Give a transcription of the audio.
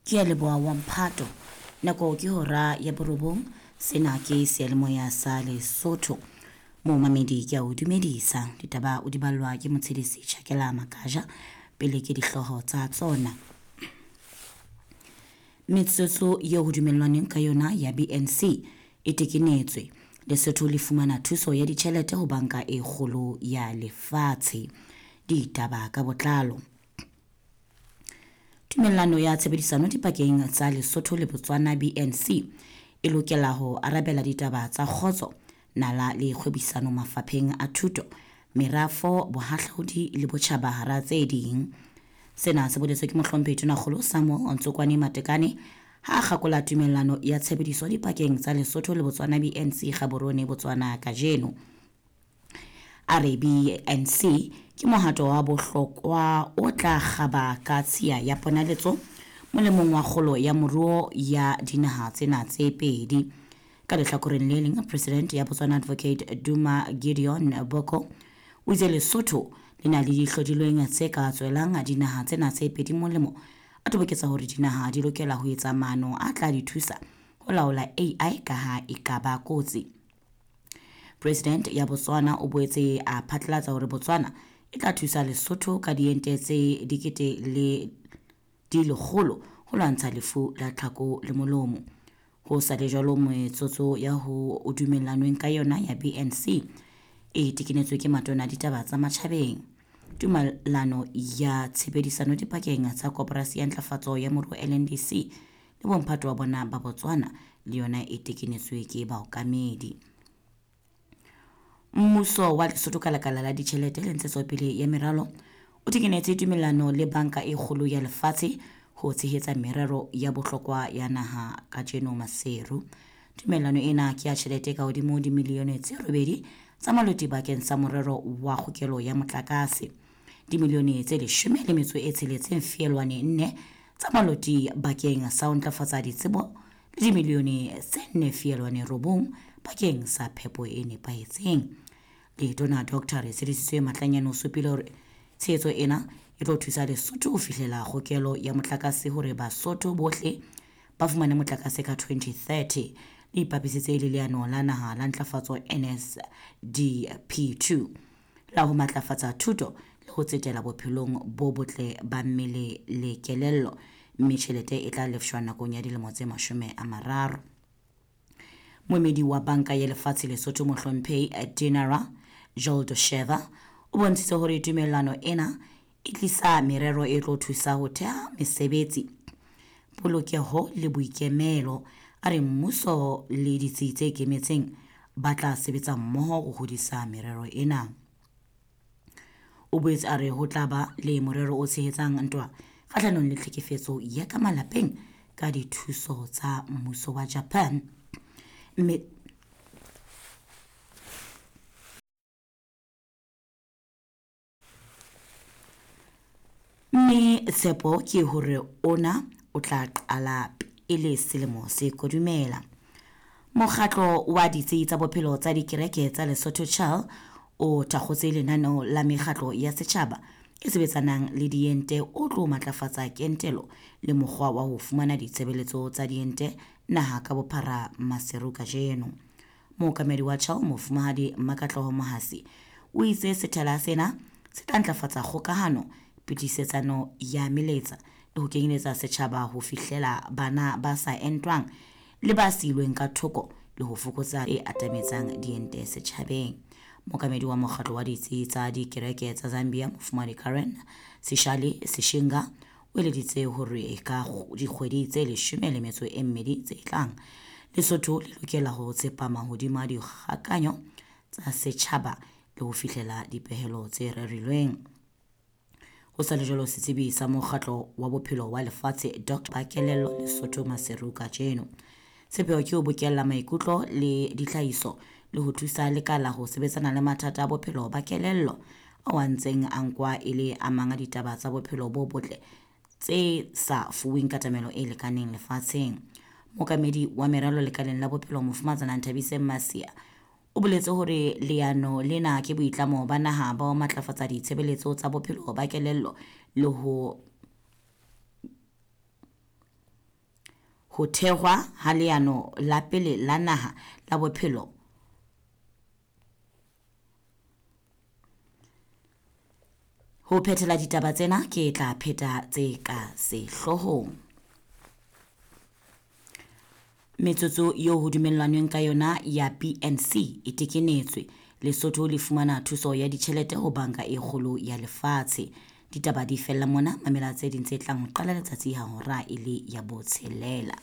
Ke a leboha wa mphato. Nako ke hora ya borobong. Sena ke seyalemoya sa Lesotho. Momamedi ke a o dumedisa. Ditaba o di ballwa ke motshedisi Tjhakela Makaja. Pele ke dihlooho tsa tsona. Metsotso eo ho dumellwaneng ka yona ya BNC e tekenetswe. Lesotho le fumana thuso ya ditjhelete ho banka e kgolo ya lefatshe. Ditaba ka botlalo. Tumellano ya tshebedisano dipakeng tsa Lesotho le Botswana BNC e lokela ho arabela ditaba tsa kgotso, nala le kgwebisano mafapheng a thuto, merafo, bohahlaudi le botjhaba hara tse ding. Sena se boletswe ke mohlomphehi Tonakgolo Samuel Ntsokwane Matekane ha a kgakola tumellano ya tshebediso dipakeng tsa Lesotho le Botswana BNC Gaborone Botswana kajeno. A re BNC ke mohato wa bohlokwa o tla kgaba ka tshiya ya ponaletso molemong wa kgolo ya moruo ya dinaha tsena tse pedi. Ka lehlakoreng le leng, President ya Botswana Advocate Duma Gideon Boko o itse Lesotho le na le dihlodilweng tse ka tswelang dinaha tsena tse pedi molemo, a toboketsa hore dinaha di lokela ho etsa maano a tla di thusa ho laola AI ka ha e ka ba kotsi. President ya Botswana o boetse a phatlalatsa hore Botswana e tla thusa Lesotho ka diente tse dikete le di lekgolo ho lwantsha lefu la tlhako le molomo. Ho sa le jwalo, metsotso ya ho o dumellanweng ka yona ya BNC e tekenetswe ke matona a ditaba tsa matjhabeng. Tumellano ya tshebedisano dipakeng tsa Koporasi ya Ntlafatso ya Moruo LNDC le bomphato wa bona ba Botswana le yona e tekenetswe ke baokamedi. Mmuso wa Lesotho ka lekala la ditjhelete le ntshetsopele ya meralo o tekenetse tumellano le banka e kgolo ya lefatshe ho tshehetsa merero ya bohlokwa ya naha kajeno Maseru. Tumellano ena ke ya tjhelete ka hodimo dimilione tse 8 tsa maloti bakeng sa morero wa kgokelo ya motlakase. Dimilione tse 16.4 tsa maloti bakeng sa ho ntlafatsa ditsebo le dimilione tse 4.9 bakeng sa phepo e nepahetseng. Letona Dr. Retshedisitswe Matlanyane o supile hore tshehetso ena e tlo thusa Lesotho ho fihlela kgokelo ya motlakase hore Basotho bohle ba fumane motlakase ka 2030. Le ipapisitse le leano la naha la ntlafatso NSDP2 la ho matlafatsa thuto le ho tsetela bophelong bo botle ba mmele le kelello, mme tjhelete e tla lefshwa nakong ya dilemo tse 30. Moemedi wa banka ya lefatshe Lesotho mohlomphehi Dinara Joldosheva o bontshitse hore tumellano ena e tlisa merero e tlo thusa ho theha mesebetsi, polokeho le boikemelo. A re mmuso le ditsi tse ikemetseng ba tla sebetsa mmoho ho hodisa merero ena. O boetse a re ho tla ba le morero o tshehetsang ntwa kgahlanong le tlhekefetso ya ka malapeng ka dithuso tsa mmuso wa Japan. Mme tshepo ke hore ona o tla qala pele selemo se kodumela. Mokgatlo wa ditsi tsa bophelo tsa dikereke tsa Lesotho Chal o thakgotse lenaneo la mekgatlo ya setjhaba e sebetsanang le diente o tlo matlafatsa kentelo le mokgwa wa ho fumana ditshebeletso tsa diente naha ka bophara Maseru kajeno. Mookamedi wa Chal Mofumahadi Makatloho Mohasi o itse sethala sena se tla ntlafatsa kgokahano, pitisetsano ya meletsa le ho kenyeletsa setjhaba ho fihlela bana ba sa entwang le ba siilweng ka thoko le ho fokotsa e atametsang diente setjhabeng. Mookamedi wa mokgatlo wa ditsi tsa dikereke tsa Zambia Mofumahadi Karen Sishali Sishinga o eleditse hore ka dikgwedi tse 12 tse tlang Lesotho le lokela ho tsepama hodima dikgakanyo tsa setjhaba le ho fihlela dipehelo tse rerilweng. Ho sa le jwalo, setsebi sa mokgatlo wa bophelo wa lefatshe Dr. Bakelello Lesotho Maseru kajeno. Sepheo ke ho bokella maikutlo le ditlhahiso le ho thusa lekala ho sebetsana le mathata a bophelo ba kelello ao a ntseng a nkwa e le a mang a ditaba tsa bophelo bo botle tse sa fuweng katamelo e lekaneng lefatsheng. Mookamedi wa meralo lekaleng la bophelo Mofumatsana Nthabiseng Masia o boletse hore leano lena ke boitlamo ba naha ba ho matlafatsa ditshebeletso tsa bophelo ba kelello le ho Ho thehwa ha leano la pele la naha la bophelo Ho phethela ditaba tsena ke tla pheta tse ka sehloohong. Metsotso eo ho dumellanweng ka yona ya BNC e tekenetswe. Lesotho le fumana thuso ya ditjhelete ho Banka e Kgolo ya Lefatshe. Ditaba di fella mona, mamela tse ding tse tlang ho qala letsatsi ha hora e le ya botshelela.